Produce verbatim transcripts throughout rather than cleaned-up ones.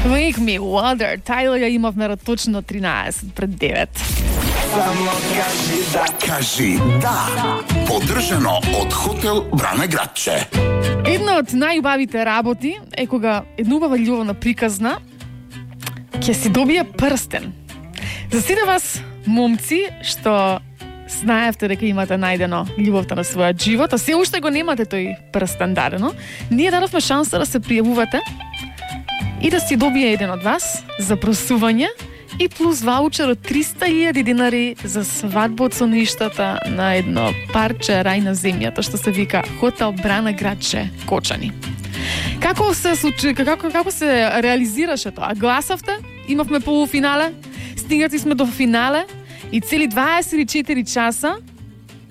Wake me water. Тајлер ја имавме точно тринаесет пред девет. Само кажи да. Кажи да. Поддржано од хотел Брана Градче. Една од најубавите работи е кога една убава љубовна приказна ќе си добие прстен. За сите вас, момци, што знаевте дека имате најдено љубовта на својот живот, а се уште го немате тој прстен дадено, ние дадовме шанса да се пријавувате и да си добие еден од вас за просување и плюс ваучер од триста илјади динари за свадба од соништата на едно парче рај на земјата што се вика Хотел Брана Градче, Кочани. Како се случи, како како се реализираше тоа? Гласавте? Имавме полуфинале, стигнати сме до финале и цели дваесет и четири часа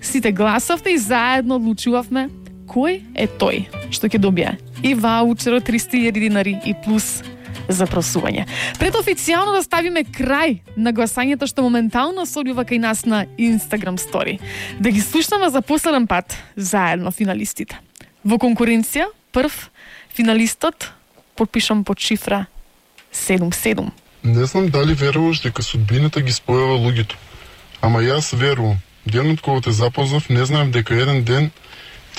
сите гласавте и заедно одлучувавме кој е тој што ќе добие и ваучер од триста илјади динари и плюс за просување. Пред официјално да ставиме крај на гласањето што моментално се одвива кај нас на Instagram Story, да ги слушнаме за последен пат заедно финалистите. Во конкуренција, прв финалистот подпишам под шифра седум седум. Не знам дали веруваш дека судбината ги спојува луѓето. Ама јас верувам. Денот кога те запознав, не знаев дека еден ден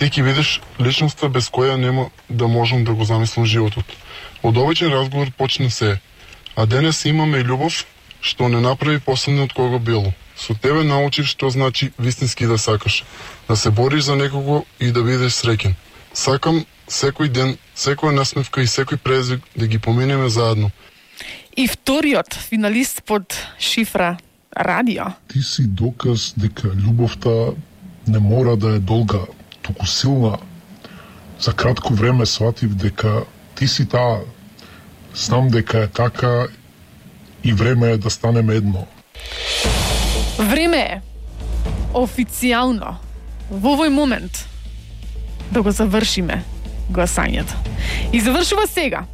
ти ќе видиш личноста без која нема да можам да го замислам животот. Од обичен разговор почна се, а денес имаме и љубов што не направи последно од кога било. Со тебе научив што значи вистински да сакаш, да се бориш за некого и да бидеш среќен. Сакам секој ден, секоја насмевка и секој презвик да ги поминеме заедно. И вториот финалист под шифра радио. Ти си доказ дека љубовта не мора да е долга, туку силна. За кратко време сватив дека ти си таа. Знам дека е така и време е да станеме едно. Време е официјално во овој момент да го завршиме гласањето. И завршува сега.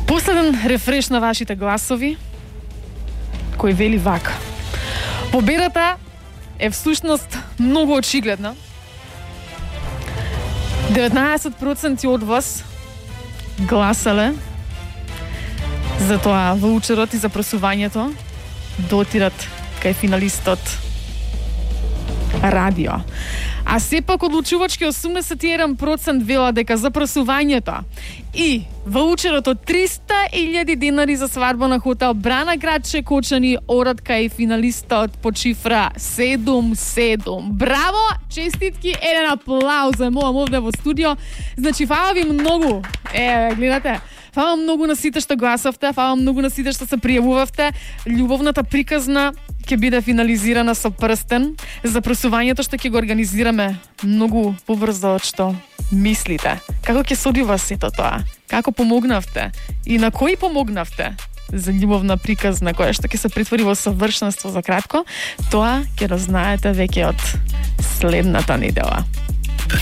Последен рефреш на вашите гласови кој вели вака. Победата е всушност многу очигледна. деветнаесет проценти од вас гласале за тоа ваучерот и за просувањето да отидат кај финалистот радио. А сепак одлучувачки осумдесет и еден проценти вела дека за просувањето и ваучерот од триста илјади динари за свадба на Хотел Брана Градче, Кочани одат кај финалистот под шифра седум седум. Браво, честитки, еден аплауз за молам овде во студио. Значи, фала ви многу. Е, гледате, фала многу на сите што гласавте, фала многу на сите што се пријавувавте. Љубовната приказна ќе биде финализирана со прстен за просувањето што ќе го организираме многу побрзо од што мислите. Како ќе се одвива сето тоа? Како помогнавте? И на кој помогнавте за љубовна приказна која што ќе се претвори во совршенство за кратко? Тоа ќе разнаете веќе од следната недела.